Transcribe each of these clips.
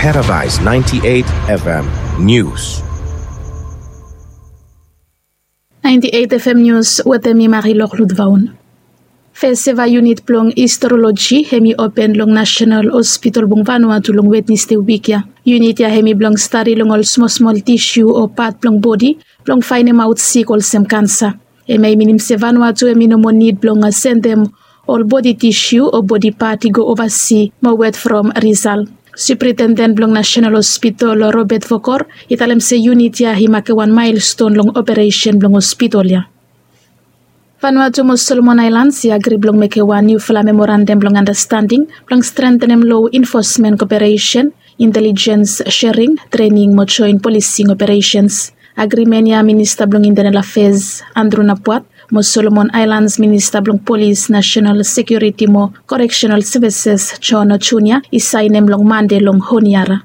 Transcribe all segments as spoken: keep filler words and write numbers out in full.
Paradise ninety-eight F M News. Ninety-eight F M News wetem mi Marilor Ludvaun. Feseva yunit blong histroloji hemi open long National Hospital blong Vanuatu long Wednesday wik ya. Yunit ya hemi blong stadi long ol smosmol tisiu o pat blong bodi blong faenemaot sik olsem kansa. Hemia i minim se Vanuatu hemi no moa nid blong sendem ol bodi tisiu o bodi pat i go ovasi mo wet from risal. Supritenden blong National Hospital Robert Vokor i talem se yunit ya i make wan maelston long operesen blong hospital ya. Vanuatu mo Solomon Aelans i agri blong mekem wan niufala memorandam blong andastanding blong strentenem loa infosmen koperesen, intelijens sering, trening mo joen polising operesens. Agrimen ya Minista blong Intenel Afes Andru Napuat mo Solomon Aelans Minista blong Polis, Nasenal Sekiuriti mo Koreksenal Sevises Jon Junia i saenem long Mande long Honiara.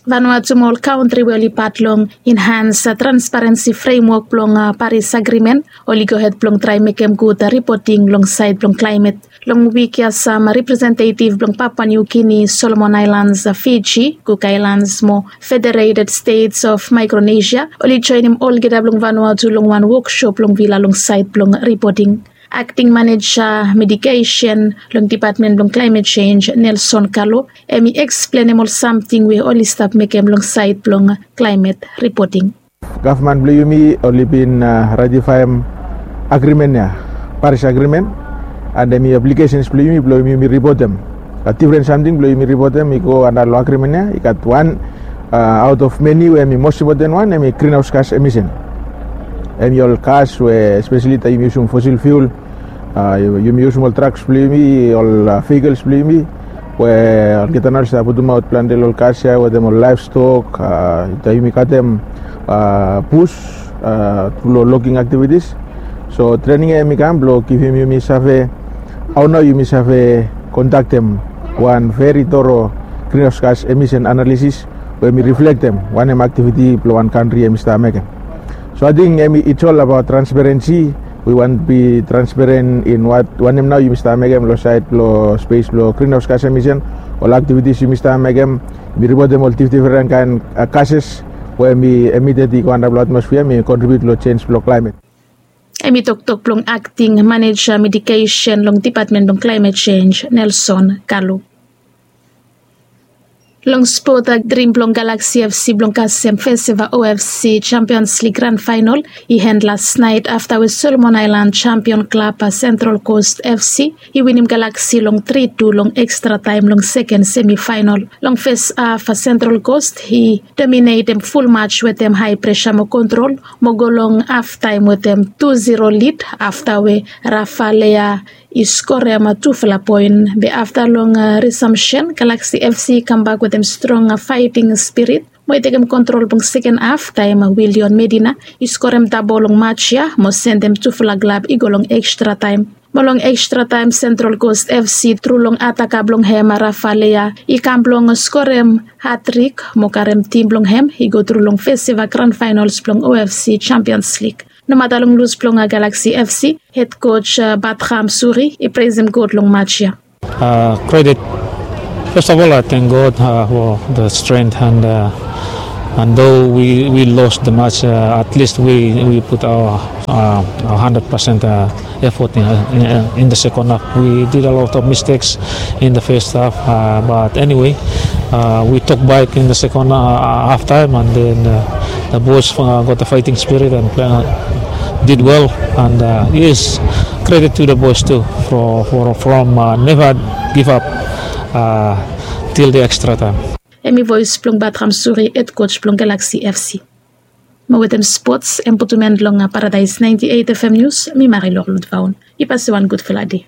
Vanuatu mo ol kantri we oli pat long Enhans Transparensi Fremwok blong Paris Agrimen oli gohed blong traem mekem gud ripoting long saed blong klaemet. Long wik ya sam representetiv blong Papua New Guinea, Solomon Aelans, Fiji, Cook Aelans mo Federated States of Micronesia oli joenem olgeta blong Vanuatu long wan woksop long vila long saed blong ripoting. Akting maneja mitigesen long Dipatmen blong Klaemet Jenj, Nelson Kalo, hemi eksplenem ol samting we oli stap mekem long saed blong klaemet ripoting. Gavman blong yumi oli bin ratifaem agrimen ya, Paris Agrimen, and hemi obligesen blong yumi blong yumi ripotem. Gat difren samting blong yumi ripotem i go antap long agrimen ya. I gat wan aot of meni we hemi mos impoten wan, hemi grinhaos gas emisen. Hemi ol gas we espeseli taem yumi yusum fosil fiul, yumi yusum ol traks blong yumi, ol vehikels blong yumi, we olgeta nao oli stap putumaot plante long ol gas ya wetem ol laevstok, taem yumi katem bus tru long logging aktivitis. So trening ya hemi kam blong givim yumi save hao nao yumi save kondaktem wan veri toro grinhaos gas emisen analisis we hemi riflektem wanem aktiviti blong wan kantri hemi stap mekem. So ating hemi it's all abaot transparensi. Wi wantem bi transparen in wanem nao yumi stap mekem long saed blong spes blong grinhaos gas emisen, ol aktivitis yumi stap mekem. Yumi ripotem ol difdifren kaen gases we hemi emited i go antap long atmosfia, hemi kontribiut long jenj blong klaemet. Hemi toktok blong akting maneja mitigesen long Dipatmen blong Klaemet Jenj, Nelson Kalo. Long spot, drim blong Galaxy F C blong kasem feseva O F C Champions League gran faenol i en lasnaet afta we Solomon Aelan jampion klab Central Coast F C i winim Galaxy long tri tu long ekstra taem long seken semifaenol. Long fes haf Central Coast i dominetem ful maj wetem hae presa mo kontrol mo go long haftaem wetem tu ziro lid afta we Rafa Lea i skorem tufala poen. Be afta long risamsen, Galaxy F C i kambak wetem strong faeting spirit mo i tekem kontrol blong seken haf taem Willion Medina i skorem dabo long maj ya mo sendem tufala glab i go long ekstra taem. Mo long ekstra taem Central Coast F C tru long ataka blong hem Rafa Lea i kam blong skorem hatrik mo karem tim blong hem i go tru long feseva gran faenols blong O F C Champions League. Nomata long lus blong Galaxy F C, hed koj Batram Suri i presem God long maj ya. Kredit. First of all, I thank God for the strength and and though we we lost the match, at least we we put our our hundred percent effort in, in, in the second half. We did a lot of mistakes in the first half, uh, but anyway, uh, we took back in the second uh, half time, and then uh, the boys uh, got the fighting spirit and play, uh, did well. And uh, yes, credit to the boys too for, for from uh, never give up uh, till the extra time. Hemi voes blong Batram Suri, hed koj blong Galaxy F C. Mo wetem spots, hem putum en long Paradise ninety-eight F M News, mi Marilor Ludvaun. I pase wan gudfala dei.